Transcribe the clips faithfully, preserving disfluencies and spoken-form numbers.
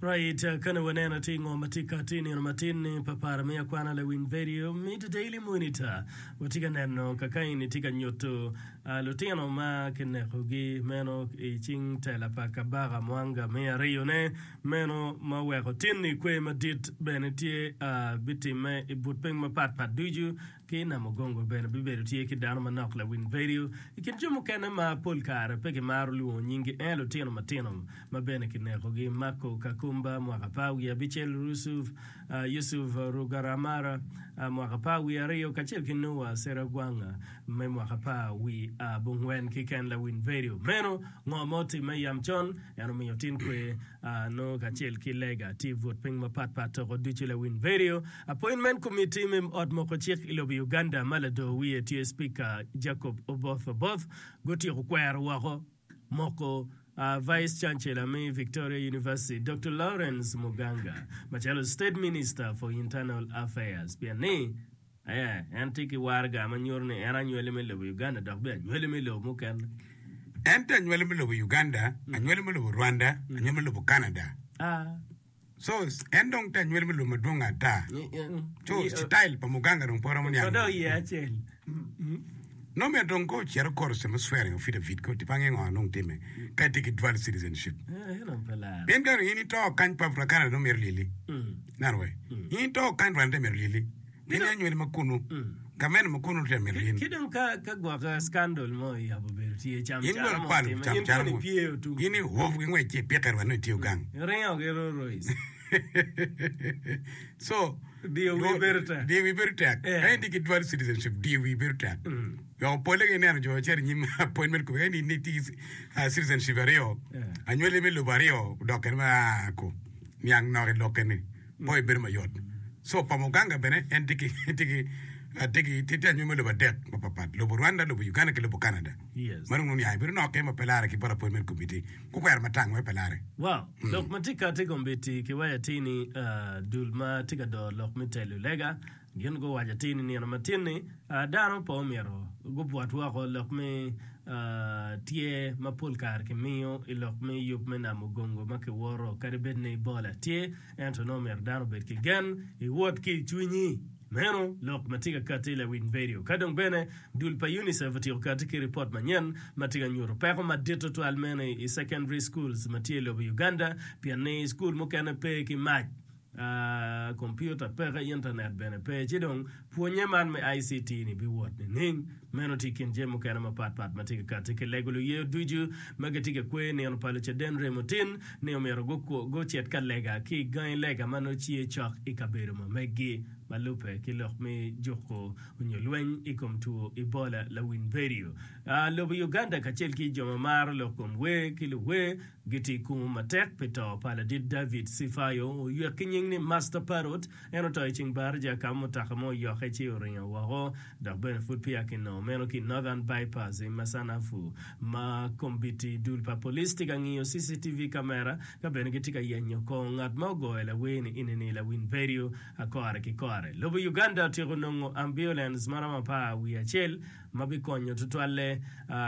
Right, kane waneno atir ngo ma tye kati i nino matin ni pa para me akwana lawiny vedio me The Daily Monitor. Watye ka neno kakaini tye ka nyuto lutino ma kinekogi meno i cing tela pa Kabaka Mwanga me ariyone meno ma oweko tinni kwer madit bene tye bitimme i but piny mapat pat ducu Ki i Namugongo bene bibedo tye ki dano manok lawiny vedio. I kin jo mukene ma pol kare pe gimaro lwongo nyinggi en lutino matino ma bene kinekogi, Marco Kakumba, mwaka apar wiye abicel, Yusuf Rugaramara, mwaka apar wiye aryo, kacel ki Noah Seragwanga me mwaka apar wiye abongwen keken lawiny vedio. Meno ngo ma otimme yam con? En omiyo tin kwe nongo kacel ki lega tye i but piny mapat pat toko ducu lawiny vedio. Appointment Committee me ot moko cik i lobo Uganda ma lador wiye tye Speaker Jacob Oboth Oboth gutyeko kwero woko moko Vice Chancellor me Victoria University Doctor Lawrence Muganga macalo State Minister for Internal Affairs pien ni en tye ki waraga ma nyuto ni en anywali me lobo Uganda dok bene anywali me lobo mukene. En tye anywali me lobo Uganda, anywali me lobo Rwanda, anywali me lobo Canada. So, en dong tye anywali me lobo madwong ata. So, citail pa Muganga dong pe romo niang. Dok iye acel. Nongo myero dong ka ocito kor me swearing affidavit ko tipange ngo nong time ka itye ki dual citizenship. Pien ka in ito kany pa Canada nongo myero lyeli. Ineno wai? In ito kany Rwanda myero lyeli. Gin aye anywali ma kunu, gamente ma kunu tye myero gin. Ki dong ka ka gwok scandal mo oyabo bedo tye cam In cara bene mo kwalo otime, cam in cara kono mo. ipye otum. In iwop ki ngwec ci ipike rwed nongo itiyo gang. Iringo ki Rolls Royce. So, Diyo wi bedo tek. Diyo wi bedo tek. Yeah. Ka in itye ki dual citizenship, diyo wi bedo tek. Weko polle ka ineno jo cito i nyim appointment committee, ka in itye ki ah, citizenship aryo, Yeah. anywali me lobo aryo odok kene ma ah, ko niang nok i lokke ni. Po ibedo mayot. So pa Muganga bene en tye ki tye ki tye ki tye anywali me lobo adek mapapat, lobo Rwanda, lobo Uganda ki lobo Canada. Yes. Ma dong nongo niange bedo nokke ma pe lare ki bot appointment committee. Gukwero matang wek pe lare. Wow, lok ma tye kati kombeddi kiwaco atir ni dul ma tye ka doro lok me telo lega Gin guwaco atir ni nino matin-ni, dano pe omyero gubwot woko lok me tyer ma pol kare kimiyo i lok me yub me namo gongo ma kiworo. Kadi bed ni Ebola tye, ento nongo myero dano obed ki gen i wot ki i cwinyi. Meno lok ma tye ka katti i lawiny vedio. Ka dong bene, dul pa UNICEF otyeko katti ki ripot manyen ma tye ka nyuto peko madit tutwal meno i secondary schools ma tye i lobo Uganda pien ni cukul mukene pe ki mac. Kompiuta peke, intanet bene pe, ci dong pwonnye man me ICT ni biwot nining? Meno tye i kin jami mukene mapat pat ma tye ka katti ki lego luyeyo ducu ma gitye ka kweyo nino pa Lucaden Remo Tin ni omyero gucit ka lega ki i gangi lega ma nongo tye cok i kabedo ma meggi ma lubbe ki lok me juko nyo lweny i kom two Ebola. Lawiny vedio lobo Uganda kacel ki jo ma maro lok kom wer ki luwer Gitye i kumo matek pi to pa ladit David Sifayo, oywek ki nying ni Master Parrot. En oto i ceng baraja ka ma mutoka mo oyokke ci oringo woko, dok bene pud peya kinongo meno ki i Northern Bypass i Masanafu. Ma kombiti dul pa police tye ka ngiyo CCTV camera ka bene gitye ka yenyo kor ngat ma ogoyo lawer-ni ini-ni lawiny vedio kore ki kore. Lobo Uganda otyeko nongo ambulance maromo apar wiye acel ma bikonyo tutwalle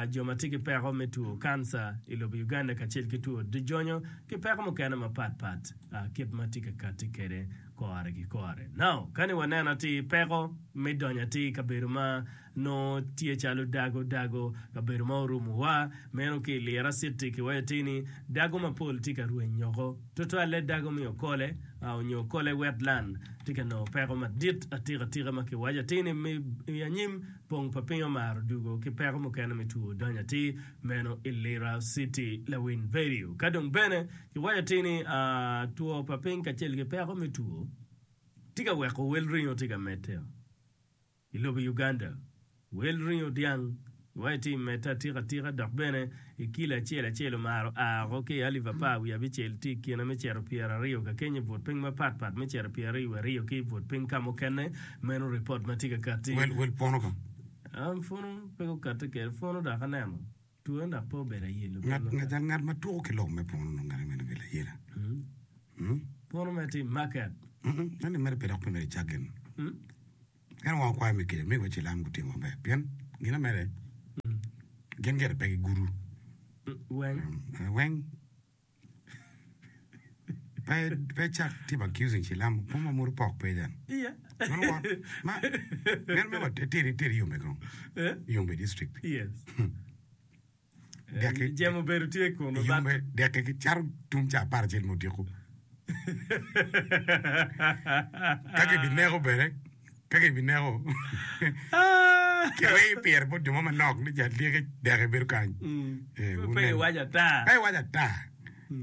jo ma tye ki peko me two kanca i lobo Uganda kacel ki two jonyo ki peko mukene mapat pat kit ma tye ka katti kwede kore ki kore. Now, kani waneno atir peko me donyo atir i kabedo ma nongo tye calo dago dago, kabedo ma orumowa, meno ki i Lira City kiwaco atir ni dago mapol tye ka rweny oko, tutwalle dago me Okole onyo Okole Wetland tye ka nongo peko madit atika tika ma kiwaco atir ni i anyim Pong pa piny omaro dugo ki peko mukene me two donyo atir meno i Lira City lawiny vedio. Ka dong bene kiwaco atir ni two pa piny kacel ki peko me two tye ka weko wel ringo tye ka medde i lobo Uganda. Wel ringo dyang kiwaco atir medde atika atika dok bene I kilo acel acel omaro a oko ki i alip apar wiye abicel tye i kine me cito pyeraryo ka kenyo i but piny mapat pat me cito pyeraryo wiye aryo ki i but piny ka mukene. Meno ripot ma tye ka katti. Wel wel pwono ka. An pwono pe gukatti kede pwono dok aneno twone dok pe obedo ayelo bene Ngat ngat ngat ma tuko ki lok me pwono nongo ngate meno obedo layela. Hmm? Pwono me tye i market. Mm ento mere pe dok pe mere icak gin. En wang okwayo me kica, mego cilam gutimo maber pien gin amede gin gire pe gigudo Weng. Weng. Pe pe cak timo accusing cilam po ma muru pok pe jan. Yeah. Mano wa ma meno me wa teri teri Yumbe kong. Eh? Yumbe district. Yes. Dek Jemo obedo tye kunu but Yumbe dek ki caro tum ca apar acel me odiko. Ka kibineko bene ka kibineko kirweyo pire bot jo mo manok ni jal dyeki dek ebedo kany. Eh, Pe wunen. iwaco ata. Pe iwaco ata.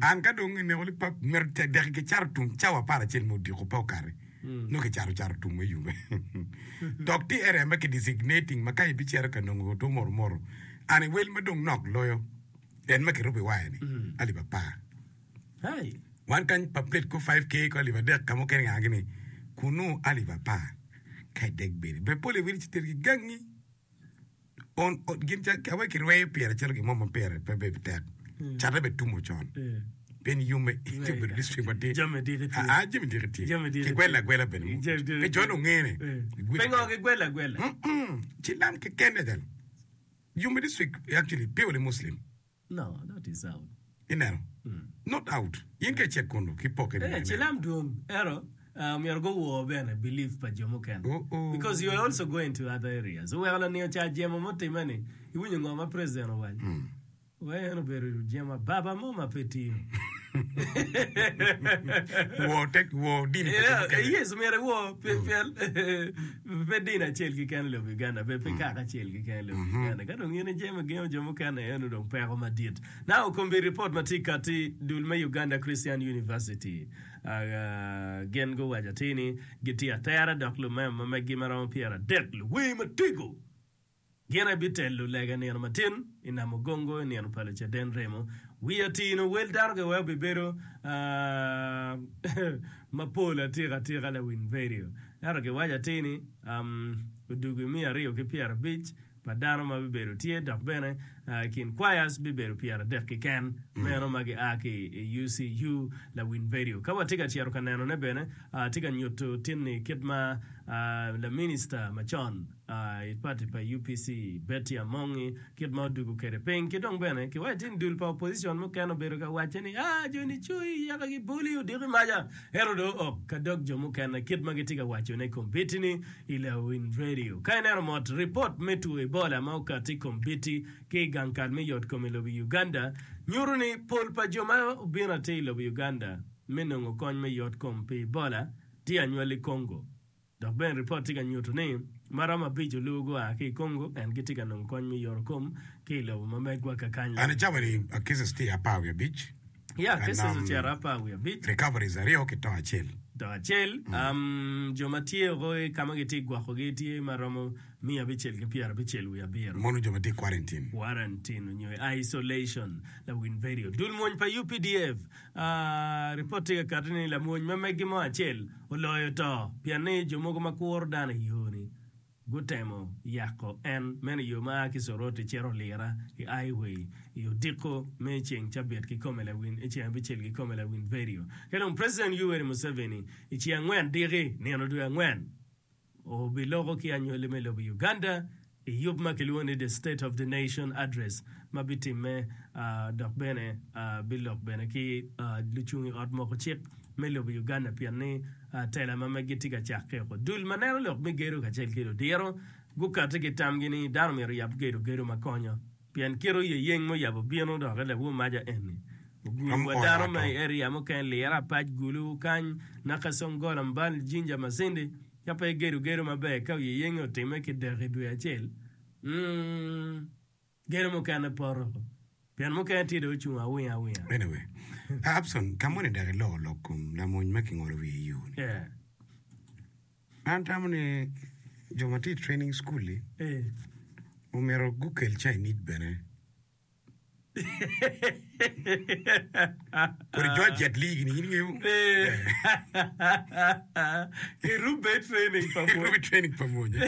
An ka dong ineko ni pa myero dek kicaro tum cawa apar acel me odiko pe okati. Nongo kicaro caro tum me Yumbe. Dok tye area ma ki designating ma ka ibicito ka nongo two moro moro an i wel ma dong nok loyo en ma kirubo i waya ni alip apar. Hey. Wan kany pa plate ko five K ko alip adek ka mukene nga gini kunu alip apar ka idek bedi. Be pole wili ci tergi gangi on, on gin ca awe kirweyo pire calo gin mo ma pire pe be tek. Cate be tumo con. Eh. Pien Yumbe tye obedo district ma tye. Jami diki tye. Ah, jami diki tye. Jami diki Kigwelo tye. agwela bene. Jami diki Pe jo tye. ongene. Eh. Pingo gigwelo agwela? Mm-mm. Cilam keken jalo. Yumbe district actually purely Muslim. No, that is out. Ineno. Not out. In ka icek kunu ki poke Eh, cilam dwong. Ero, uh, myero guwor bene belief pa jo mukene. Oh, oh. Because you are also going to other areas. Oweko laniyo ca jemo mutime ni, iwinyo ngo ma president owaco. Wa en obedo jemo ababa mo ma pe tiyo. Wor tek wor dini pa jo Yeah, mukene. yes, myero iwor pe pe pe dini acel keken i lobo Uganda, pe pe kaka acel keken i lobo Uganda. Ka dong in ijemo igengo jo mukene eno dong peko madit. Now kombi report ma tye kati dul me Uganda Christian University uh, gin guwaco atir ni gitye atera dok lumema ma meggi ma romo pyera adek luwer matego gin aye bitelo lega nino matin i Namugongo i nino pa Lucaden Remo. Wi atino wel dano giweko bibedo uh, mapol atika atika lawiny radio. Ento giwaco atir ni um, odugu miya aryo ki pyera abic pa dano ma bibedo tye dok bene uh, kin choirs bibedo pyera adek keken meno ma gia ki i U C U lawiny radio. Ka watye ka cito ka nenone bene uh, tye ka nyuto tinni kit ma uh, la minister macon uh, i party pa U P C Betty Amongi kit ma odugo kede piny ki dong bene kiwaco tin dul pa opposition mukene obedo ka wacce ni ah joni cui yaka giboli odiko maca ento dong ok ka dog jo mukene kit ma gitye ka wacone kombitini i lawiny radio. Ka ineno mot report me two Ebola ma okati kombiti ki i gang kal me yot kom i lobo Uganda nyuto ni pol pa jo ma obino atir i lobo Uganda me nongo kony me yot kom pi Ebola tye anywali Congo. Dok bene report tye ka nyuto ni maromo abic olubo gua ki i Congo en gitye ka nongo kony me yot kom ki i lobo ma megwa kakany. An i cawa ni uh, cases tye apar wiye abic. Ya And, cases um, ocito apar wiye abic. Recoveries aryo ki to acel. To acel um, jo ma tye oko i ka ma gitye gwokogi tye maromo miya abicel ki pyera abicel wiye abiro. Mono jo ma tye quarantine. Quarantine onyo i isolation lawiny radio. Dul mwony pa U P D F uh, report tye ka kati ni lamwony ma meggi mo acel oloyo to pien ni jo mogo ma kuro dano i yo ni gutemo yako en meno yo ma a ki Soroti cito Lira i highway i odiko me ceng cabit kikome lawiny i ceng abicel kikome lawiny radio. Ka dong President Yoweri Museveni i ceng angwen diki nino dwe angwen obiloko ki anywali me lobo Uganda i yub ma kilwongo ni The State of the Nation Address ma bitimme uh, dok bene uh, bilok bene ki uh, lucung i ot moko cik me lobo Uganda pien ni uh, tela ma meggi tye ka cakke oko. Dul ma neno lok me gedo kacel ki ludiro gukati ki tamgi ni dano myero yab gedo gedo ma konyo pien kit oyeyeng muyabo bino dok lawu maja eni ogulu Am wa oyo dano ma ato. i area mukene Lira Apac Gulu kany Nakasongola Mbal Jinja Masindi ka pe gedo gedo maber ka oyeyeng otime ki dek i dwe acel mm, gedo mukene poto pien mukene tye dong ocung awinga awinga. Anyway, Abson, ka moni dok iloko lok kom lamony ma kingolo wiye i yo ni. Yeah. An tamo ni jo ma tye i training school-li Eh. omyero gukel Chinese bene. Kodi jo Jet Li gini in ingeyo. Eh. Kirube training pa Rubi mwony. training pa mwony.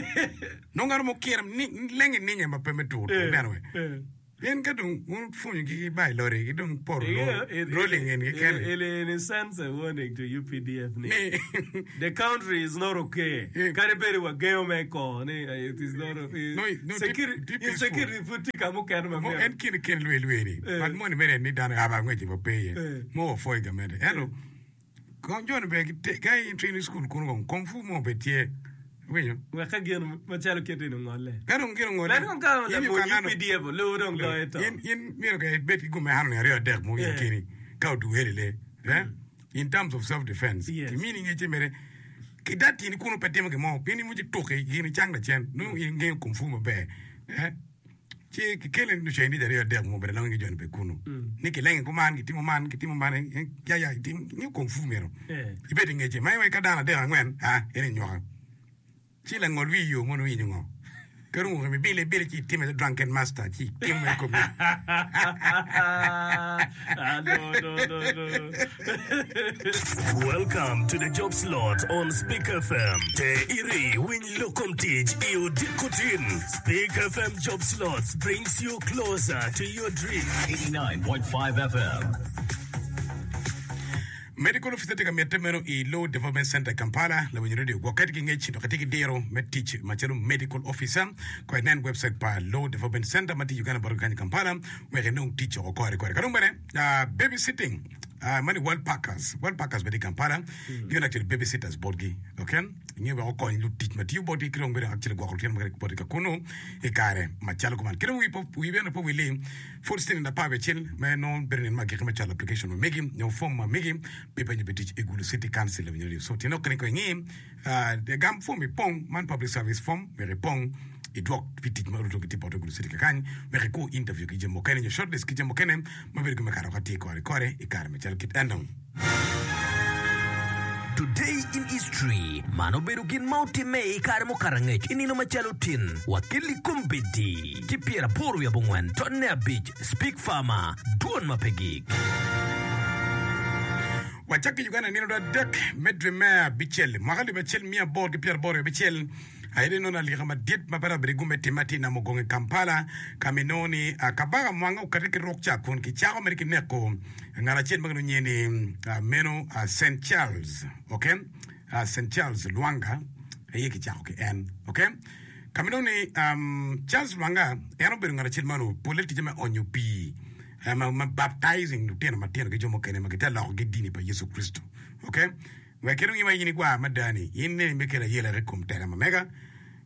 Nongo ng'ato mo kire ni lenge ninge ma pe me tur tur Eh, neno we. eh. Pien ka dong un pwonyo gi ba i lori gi dong poro Yeah, lo it, rolling it, en it, keken. it, in a sense a warning to U P D F ni Ni the country is not okay. Eh. Kadi bedi wagengo me ko ni eh, it is not okay. No, no, tye- Security, tye peaceful. insecurity pud tye ka mukene ma Mo myero. en kine ken lwe lwe ni. Eh. But moni mere ni dano aba ngweche pa pe ye. Eh. Mo ofoi gamente. Ento Kong jo ni bene ka in training school kunu kong kung fu mo bene tye. Iwinyo? Wek ka gin macalo kit eni ongolle. Ka dong gin ongolle. Nen kong ka lamony U P D F olubo dong loyo to. In in myero ka ibed ki gum ehano ni aryo adek mo in keni ka oduheli le. Eh? In terms of self defense. Yes. Kimini ngecce mere ki dat tini kunu pe timo gin mo pien in moci tuki gin icang lacen nongo in ingeyo kung fu maber. Eh? Ci kikele Chinese aryo adek mo bene longe ki joni bene kunu. Ni kilenge kuman kitimo man kitimo man eh, ya ya itim ingeyo kung fu myero. Eh. Ibed ingece ma iwek ka dano adek angwen ah en inywaka. Ci langol wi yo mono winyo ngo. Ka dong oremo ibile ibile ci itime drunken master ci itimo i komi. Ah, no, no, no, no. Welcome to the job slot on Speak F M. Te iri winy lokom tic i odiko tin. Speak F M Job Slots brings you closer to your dream. eighty-nine point five F M. Medical officer tye ka mitte meno i Law Development Center i Kampala. Lawinyo radio gwokke ki ngec dok itye ki diro me tic macalo medical officer. Ko inen website pa Law Development Center ma tye Uganda bot kany i Kampala wek inong tic oko kore kore. Ka dong bene uh, babysitting uh, mani World Packers World Packers bene i Kampala gin actually babysitters botgi, okay, inge wek okony lutic ma tiyo botgi ki dong bene actually gwoko lutino ma botgi ka kunu i kare macalo kuman. Ki dong wi po- wi bene po wili pud siling apar wiye acel me nongo bedo nino ma agikki me cwalo application ma megi nyo form ma megi pi penyo pi tic i Gulu City Council. Lawinyo radio so tyen okene ko ingi uh, gam form ipong man public service form wek ipong idwok pi tic ma oruto gitye bote Gulu City kakany wek iku interview ki jami mukene nyo shortlist ki jami mukene ma bedo gima kato ka tye kore kore i kare macalo kit eno. Today in history. Mano obedo gin ma otimme i kare mukato angec i nino macalo tin. Wakeli kombeddi ki pyeraboro wiye abongwen tonne abic Speak Farmer dwon ma pe gik. Wacak ki Uganda. Nino adek me dwe me abicel mwaka alip acel miya aboro ki pyeraboro abicel aye inongo alika madit ma pe dok bedo gume timme atir Namugongo i Kampala ka ma inongo ni ah, kabaka Mwanga okati ki ruk ca kun kicako mere ki neko ngat acel ma kilwongo nyinge ni ah, meno ah, Saint Charles, okay, Ah, Saint Charles Lwanga aye kicako ki en, okay, ka ma inongo ni um, Charles Lwanga en obedo ngat acel ma onongo pole ticce me onyo pii eh, ma, ma baptizing lutino matino ki jo mukene ma gitye loko ki dini pa Yecu Kricito, okay, wek kit ma in igwar mada ni in neni me kelo ayela i kom tela ma mega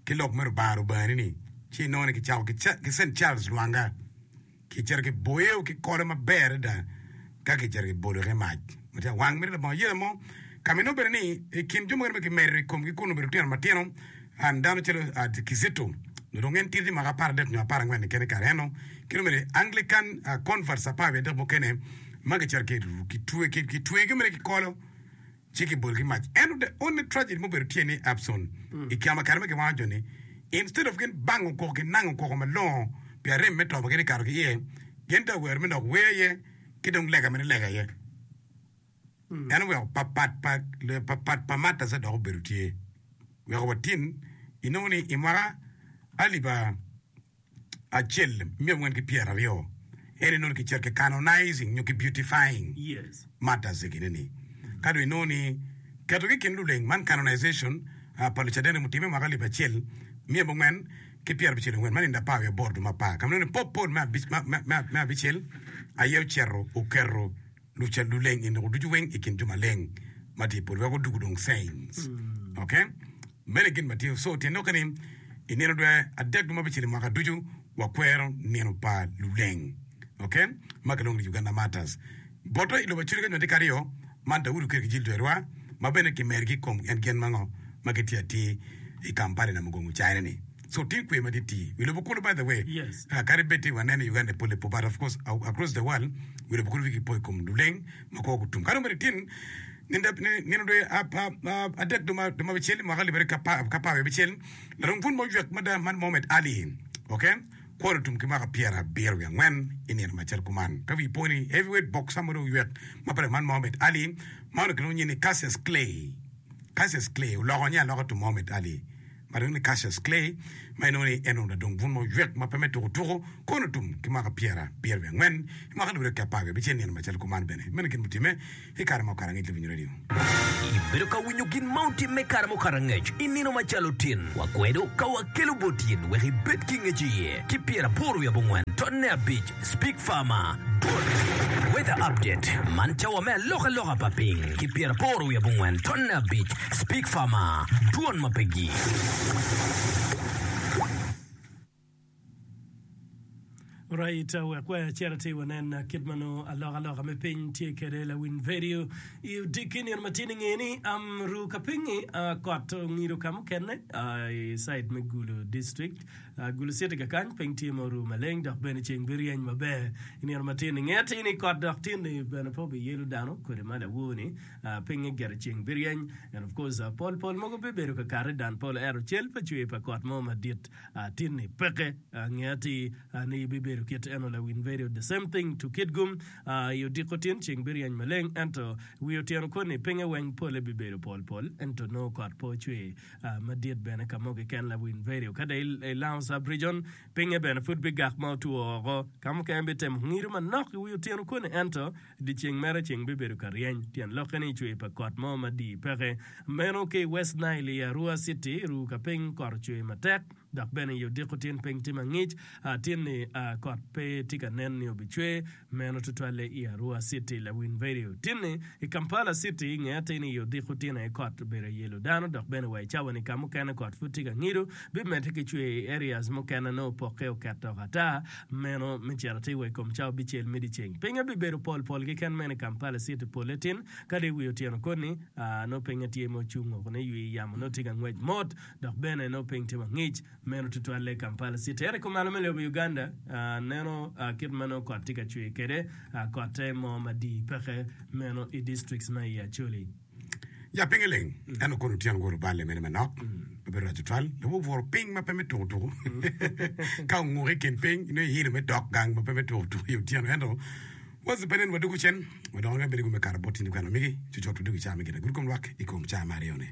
ki lok me Rubanga Rubangani ni ci inongo ni kicako ki Cha- ki Saint Charles Lwanga kicito kiboyo ki kolo maber adada ka kicito kibolo ki mac ma tye awang mere labongo ayela mo ka ma inongo bene ni i kin jo mukene ma kimedo i komgi kun obedo lutino matino an dano calo uh, Kizito dong en tidi mwaka apar adek nyo apar angwen kene kare eno ki dong bene Anglican uh, converts apar wiye adek mukene ma kicito kitwe kitwegi mere ki kolo ci kibolo ki mac. Ento the only tragedy mubedo tye ni Abson i kama kare ma kiwango joni instead of gin bango koko kinango koko malongo pi arem me to ma gin ikato ki iye gin te owero me dok wer iye ki dong lega mene lega iye en oweko papat pa papat pa martyrs dok obedo tye weko watin inongo ni i mwaka alip acel miya angwen ki pyeraryo en inongo ni kicito ki canonizing nyo ki beautifying Yes. martyrs gini ni ka dong inongo ni ketogi i kin luleng man canonization uh, pa Lucaden mutime mwaka alip acel miya abongwen ki pyerabicel angwen man nindo apar wiye aboro dwe me apar ka ma inongo ni Pope Paul me abic- me- me- me- me abicel aye ocito oketo luca luleng i noko ducu weng i kin jo maleng ma tye i polo wek odugo dong saints, okay, meno gin ma tye. So tyen lokke ni i nino dwe adek dwe ma abicel i mwaka ducu wakwero nino pa luleng, okay, ma kilwongo ni Uganda Martyrs boto i lobo Acholi ka nyo tye karyo man Daudi oketo ki jil dwerwa ma bene kimergi i kom en gin ma ngo ma gitye atir i Kampala Namugongo China ni so tye kwe ma tye tii wi lobo kulu, by the way. Yes. uh, kadi bed tye waneno i Uganda pole po, but of course uh, across the world wi lobo kulu wigi po i kom luleng ma kwo gutum. Ka dong bene tin nino nino dwe ap- ap- ap- adek dwe ma dwe ma abicel mwaka alip aryo ki apar ki apar wiye abicel larong pun mo oywek mada man Mohamed Ali, okay, kwon otum ki mwaka pyerabiro wiye angwen i nino macalo kuman. Ka wi po ni heavyweight boxer mo dong oywek ma pire man Mohamed Ali ma onongo kilwongo nyinge ni Cassius Clay. Cassius Clay oloko nyinge aloka to Mohamed Ali ma dong ni Cassius Clay ma inongo ni en onongo ladong bun mo oywek ma pe me tuko tuko kono otum ki mwaka pyerabiro wiye angwen i mwaka alip aryo ki apar wiye abicel nino macalo kuman bene meno gin mutimme i kare ma okato angec. Lawinyo radio. Ibedo ka winyo gin ma otimme kare mukato angec i nino macalo tin. Wakwedo ka wakelo bot in wek ibed ki ngec iye ki pyeraboro wiye abongwen tonne abic Speak Farmer Weather update man cawa me alokaloka pa piny ki pyeraboro wiye abongwen tonne abic Speak Farmer dwon ma pe gik. Right, wek wacit atir wanen kit ma nongo alokaloka me piny tye kwede lawiny vedio i odiki nino ma tye nge ni um, ru ka piny-ngi uh, kot ongido ka mukene uh, i side me Gulu district uh, Gulu city kakany piny tye ma oru maleng dok bene ceng biryeny maber i nino ma tye nge atir ni kot dok tye ni bene pe obiyelo dano kodi ma lawor-ni uh, pinye gire ceng biryeny and of course uh, pol pol mogo bibedo kakare dan pol ento cel pa cwer pa kot mo madit uh, tye ni peke uh, nge atir uh, ni bibedo kit eno lawiny vedio the same thing to Kitgum uh, i odiko tin ceng biryeny maleng ento wi otyeno koni pinye weng pole bibedo pol pol ento nongo kot pe ocwer uh, madit bene ka mo keken lawiny vedio ka dong i Lango sub region pinye bene pud bigak ma otwo oko ka mukene bitemo ngido manok i wi otyeno koni ento dyeceng mere ceng bibedo ka ryeny tyen lokke ni cwer pa kot mo madii peke meno ki West Nile i Arua City ru ka piny kot ocwer matek dok bene i odiko tin piny tye mangic uh, tin ni uh, kot pe tye ka nen ni obicwer meno tutwalle i Arua City lawiny vedio tin ni i Kampala City nge atir ni i odiko tin aye kot obedo yelo dano dok bene wa i cawa ni ka mukene kot pud tye ka ngido bimedde ki cwer i areas mukene nongo opokke oketo ata meno me cito atir wa i kom cawa abicel me dyeceng pinye bibedo pol pol keken meno i Kampala City pole tin kadi wi otyeno koni uh, nongo pinye tye ma ocung oko ni ywi yamo nongo tye ka ngwec mot dok bene nongo piny tye mangic meno tutwalle Kampala City ento kumalo me lobo Uganda uh, neno uh, kit ma nongo kot tye ka cwer kwede uh, kotte mo madii peke meno i districts ma i Acholi. Ya pinye leng ento kono otyeno goro balle mene manok obedo rac tutwal lobo obworo piny ma pe me tuko tuko ka onguko i kin piny nongo ihilo me dok gang ma pe me tuko tuko i otyeno ento waci pe nen wadugo cen wadongo ka bedo me kato bot tini kwena migi cucut wadugo i caa me gin agulu kom lwak i kom caa me aryo-ni.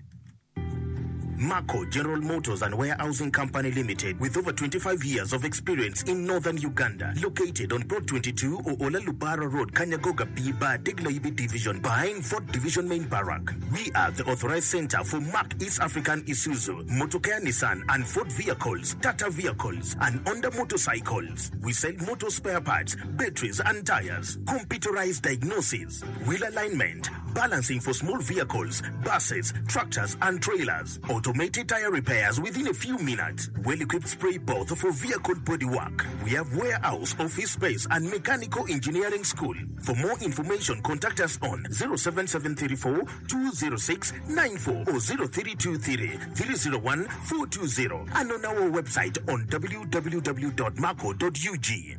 Marco General Motors and Warehousing Company Limited, with over twenty-five years of experience in northern Uganda, located on Plot twenty-two Oola Lubara Road, Kanyagoga B Bar, Degla Division, behind Fort Division Main Barrack. We are the authorized center for Mark East African Isuzu, Motocare Nissan and Ford vehicles, Tata vehicles, and Honda motorcycles. We sell motor spare parts, batteries and tires, computerized diagnosis, wheel alignment, balancing for small vehicles, buses, tractors and trailers, automated tire repairs within a few minutes, well-equipped spray booth for vehicle bodywork. We have warehouse, office space and mechanical engineering school. For more information, contact us on zero seven seven three four two zero six nine four or zero three two three three zero one four two zero and on our website on w w w dot marco dot u g.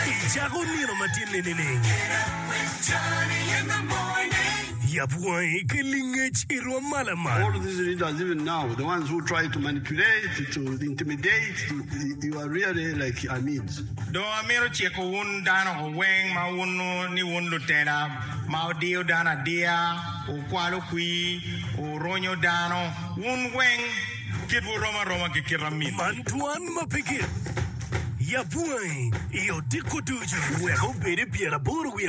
Icako nino matin ni nining? Yab wangi ki lingec i rwom ma lamal. All these leaders, even now, the ones who try to manipulate, to intimidate, to, you are really like Amins. Dong amito ciko wun dano weng ma wun ni wun lutela ma odiyo dano adiya, ukwalo kwir, uronyo dano, wun weng kitwu rom aroma ki kit amin. Man twan ma pe git. Yab wangi i odiko ducu wek obed i pyeraboro wiye